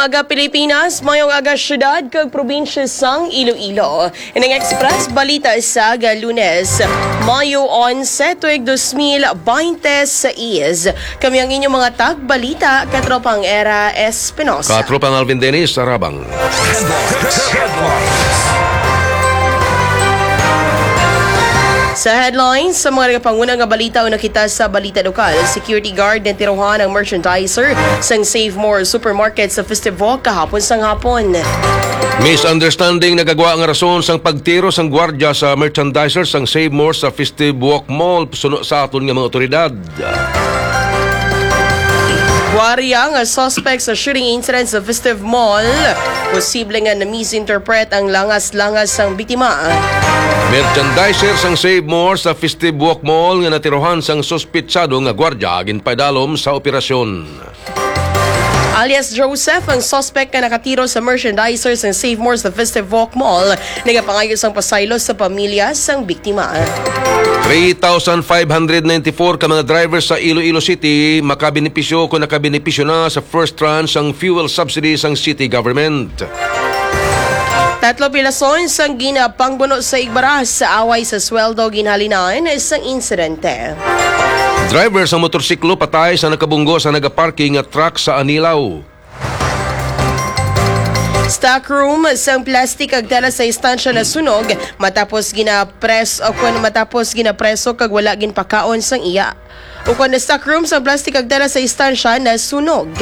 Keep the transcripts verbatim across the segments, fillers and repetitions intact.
Aga Pilipinas, mayong aga syudad kag probinsya sang Iloilo. Ining Express Balita sa aga Lunes, Mayo onse, tuig dos mil baynte sais. Kami ang inyong mga tagbalita, Katropang Era Espinosa. Katropang Alvin Dennis Arabang. Sa headlines, sa mga nagapanguna nga balita, una kita sa balita lokal. Security guard natirohan ang merchandiser sang Save More Supermarket sa Festive Walk kahapon sang hapon. Misunderstanding nagagwa nga rason sang pagtiro sang gwardya sa merchandiser sang Save More sa Festive Walk Mall suno sa aton nga mga otoridad. Wari ang suspect sa shooting incident sa Festive Mall. Posible nga na-misinterpret ang langas-langas sang biktima. Merchandiser sang Save More sa Festive Walk Mall nga natirohan sang suspitsado nga gwardya ginpaidalom sa operasyon. Alias Joseph ang suspect nga nakatiro sa merchandiser sang Save More sa Festive Walk Mall. Nagapangayo sang pasaylo sa pamilya sang biktima. Three thousand five hundred ninety-four ka mga driver sa Iloilo City makabenepisyo kung nakabenepisyo na sa first tranche sang fuel subsidy sang city government. Tatlo pilason sang ginapangbuno sa Igbaras sa away sa sweldo ginhalinan sang insidente. Driver sa motorsiklo patay sa nakabunggo sa nagaparking nga truck sa Anilao. Stockroom sang plastic kag tela sa istansya nasunog matapos ginapres o kun matapos ginapreso kag wala ginpakaon sang iya o kun stockroom sang plastic kag tela sa istansya nasunog.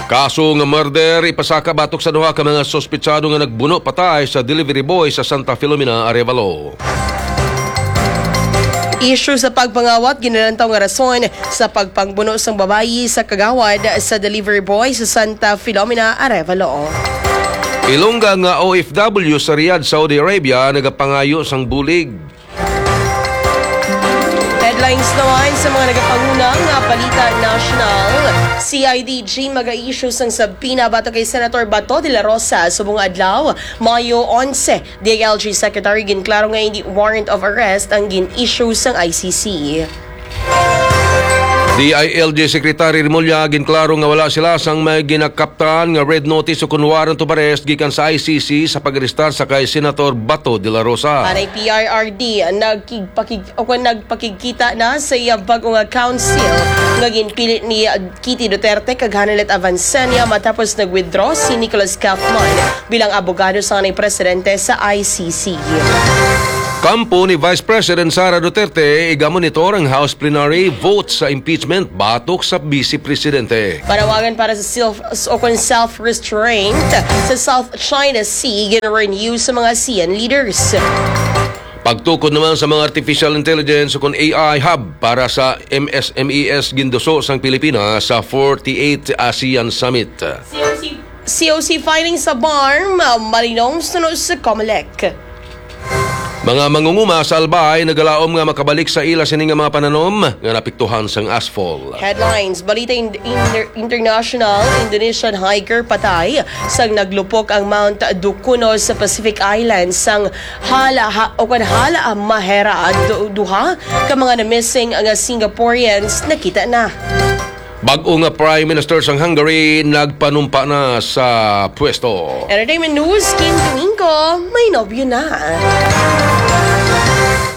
Kaso nga murder ipasaka batok sa duha ka mga suspetsado nga nagbuno patay sa delivery boy sa Santa Filomena, Arevalo. Issue sa pagpangawat ginalantaw nga rason sa pagpangbuno sang babayi sa kagawad sa delivery boy sa Santa Filomena, Arevalo. Ilongga nga O F W sa Riyadh, Saudi Arabia, nagapangayo sang bulig. Headlines naman sa mga nagapanguna nga balita nasyonal. C I D G maga-issue sang subpoena batok kay Senator Bato de la Rosa subong adlaw, Mayo onse. D I L G Secretary ginklaro nga hindi warrant of arrest ang gin-issue sang I C C. D I L G Secretary Remulla ginklaro nga wala sila sang may ginakaptan nga red notice o kon warrant of arrest gikan sa I C C sa pag-arestar sa kay Senator Bato de la Rosa. Anay P R R D nagkigpakig-, o kon nagpakigkita na sa iya bag-o nga counsel nga ginpili ni Kitty Duterte kag Hanilet Avancenia matapos nag-withdraw si Nicholas Kaufman bilang abogado sang anay presidente sa I C C. Kampo ni Vice President Sara Duterte, igamonitor ang House plenary vote sa impeachment batok sa Vice Presidente. Panawagan para sa self, o kon self-restraint sa South China Sea, gin-renew sa mga ASEAN leaders. Pagtukod naman sa mga artificial intelligence o kon A I hub para sa M S M E S ginduso sang Pilipinas sa forty-eight ASEAN Summit. C O C, C O C filing sa BARMM, malinong suno sa Comelec. Mga mangunguma sa Albay nagalaom nga makabalik sa ila sini nga mga pananom nga napiktuhan sang asphalt. Headlines, balita in, in, international, Indonesian hiker patay sang naglupok ang Mount Dukuno sa Pacific Islands sang Hala, ha, o kon Hala Mahera, du-, duha ka mga na-missing nga Singaporeans nakita na. Bag-o nga Prime Minister sang Hungary nagpanumpa na sa pwesto. Entertainment news, Kim Domingo, may nobyo na.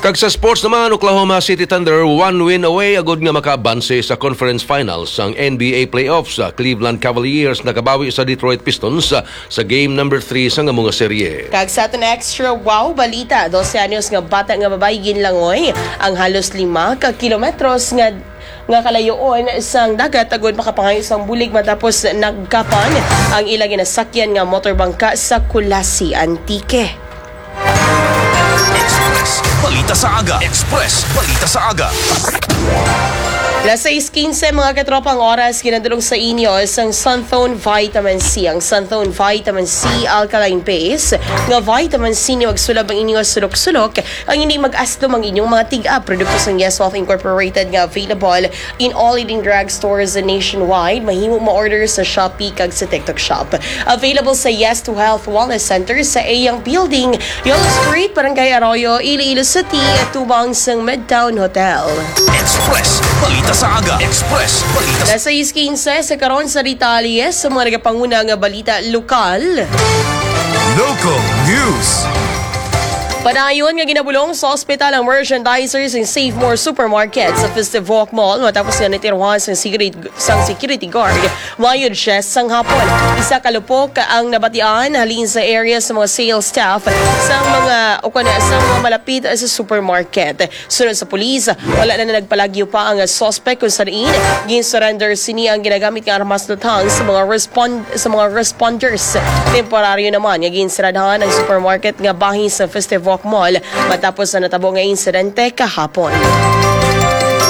Kag sa sports naman, Oklahoma City Thunder one win away agud nga makaabanse sa conference finals sang N B A playoffs. Sa Cleveland Cavaliers nakabawi sa Detroit Pistons sa game number three sang amo nga serye. Kag sa aton extra wow balita, dose anyos nga bata nga babayi ginlangoy ang halos lima ka kilometros nga, nga kalayoon sang dagat agud makapangayo sang bulig matapos nagkapan ang ila ginasakyan nga motorbangka sa Culasi, Antique. Express Balita sa Aga. Express Balita sa Aga. Las sais quince, mga katropa, ang oras, ginadulong sa inyo sang Santhone Vitamin C. Ang Santhone Vitamin C Alkaline Base nga vitamin C ni magsulab ang inyong sulok-sulok, ang hindi mag-aslom ang inyong mga tig-ap. Produkto sang Yes Wealth Incorporated nga available in all leading drugstores nationwide. Mahimo ma-order sa Shopee kag sa TikTok Shop. Available sa Yes to Health Wellness Center sa Eyang Building, Yolo Street, Barangay Arroyo, Iloilo City, tubang sang Midtown Hotel. Express Balita Sa Aga Express, balita sa Las sais quince sa karon sa detalye sa mga nagapanguna nga balita lokal. Local News. Padayon nga ginabulong sa ospital ang merchandiser sa Save More Supermarket sa Festive Walk Mall matapos nga natiruhan sang security, sang security guard mayod siya sang hapon. Isa ka lupok ang nabatian halin sa area sa mga sales staff sa mga o kana sa mga malapit sa supermarket. Sunod sa pulis, wala na nagpalagyo pa ang suspect kung sa diin ginsurrender sini ang ginagamit nga armas lutang sa mga respond sa mga responders. Temporaryo naman nga ginsaradhan ang supermarket nga bahin sa Festive Walk Mall matapos sa natabo nga insidente kahapon.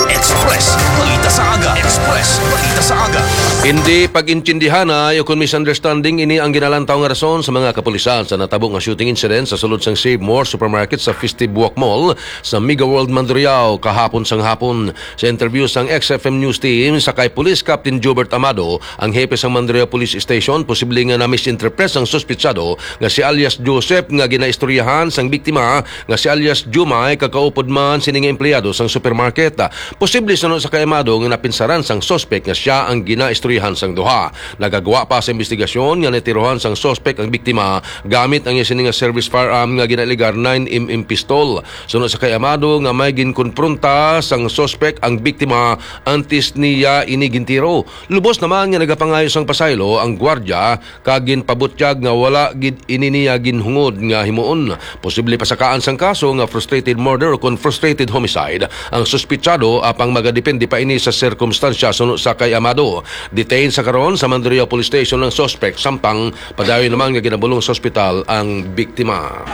Express, balita sa Aga. Express, balita sa Aga. Hindi pag-intindihanay o kon misunderstanding ini ang ginalantaw nga rason sa mga kapulisan sa natabo nga shooting incident sa sulod sang Save More Supermarket sa Festive Walk Mall sa Mega World Mandurriao kahapon sang hapon. Sa interview sang X F M News Team sa kay Police Captain Jobert Amado, ang hepe sang Mandurriao Police Station, posible nga na-misinterpret sang suspetsado nga si alias Joseph nga ginaistoryahan sang biktima nga si alias Jumay kakaupod man sini nga empleyado sang supermarket. Posible suno sa kay Amado nga napinsaran sang suspek nga siya ang ginaistoryahan sang duha. Nagagwa pa sa investigasyon nga natiruhan sang suspek ang biktima gamit ang iya sini nga service firearm nga ginaaligar nine M M pistol. Suno sa kay Amado nga may ginkonpronta sang suspek ang biktima antes niya ini gintiro. Lubos naman nga nagapangayo sang pasaylo ang gwardya kag ginpabutyag nga wala gid ini niya ginhungod nga himuon. Posible pasakaan sang kaso nga frustrated murder o kon frustrated homicide ang suspitsado, apang magadepende pa ini sa sirkumstansya suno sa kay Amado. Detained sa karon sa Mandurriao Police Station ang suspek, samtang padayon naman nga ginabulong sa ospital ang biktima.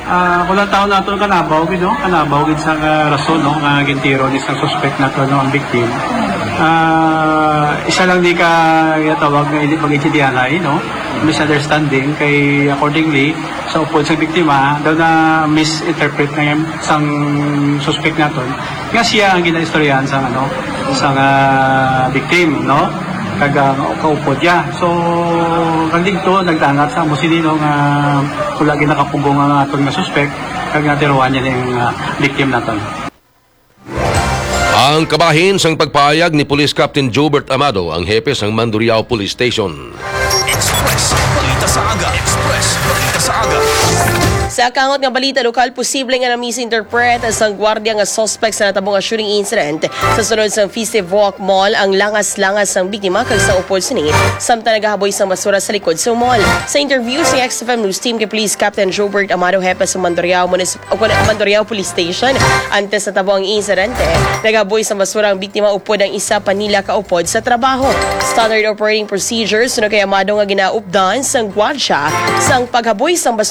Ah, kung ang taon nato kanabaw gid, no? Kanabaw gid sa, ah, rason, no, nga gintiro ni sa suspect nato, no, ang victim. Ah, isa lang di ka tawag nga hindi pag-intindihanay, no? Misunderstanding kay accordingly sa upod sa biktima daw na misinterpret na yan sang suspect naton nga siya ang ginaistoryahan sang ano, sang, ah, victim, no? Kag, ah, kaupod niya. So, kag dito nagdangat sa amo sini, no, nga wala ginakapugong ang aton nga suspect kag natiruan niya ning, ah, victim naton. Ang kabahin sang pagpahayag ni Police Captain Jobert Amado, ang hepe sang Mandurriao Police Station. Express, balita sa Aga. Express, balita sa Aga. Sa kangot nga balita lokal, posible nga na-misinterpret sang gwardiya nga suspect sa natabo nga shooting incident. Sa sulod sang Festive Walk Mall ang langas-langas sang biktima kag sa upod sini, samtang nagahaboy sang basura sa likod sa mall. Sa interview sa X F M News Team kay Police Captain Jobert Amado, hepe sa Mandurriao Municipal o kon Mandurriao Police Station. Antes natabo ang insidente, nagaboy sa basura ang biktima upod ang isa pa nila kaupod sa trabaho. Standard operating procedures suno kay Amado nga ginaupdan sang gwardiya sang paghaboy sang basura.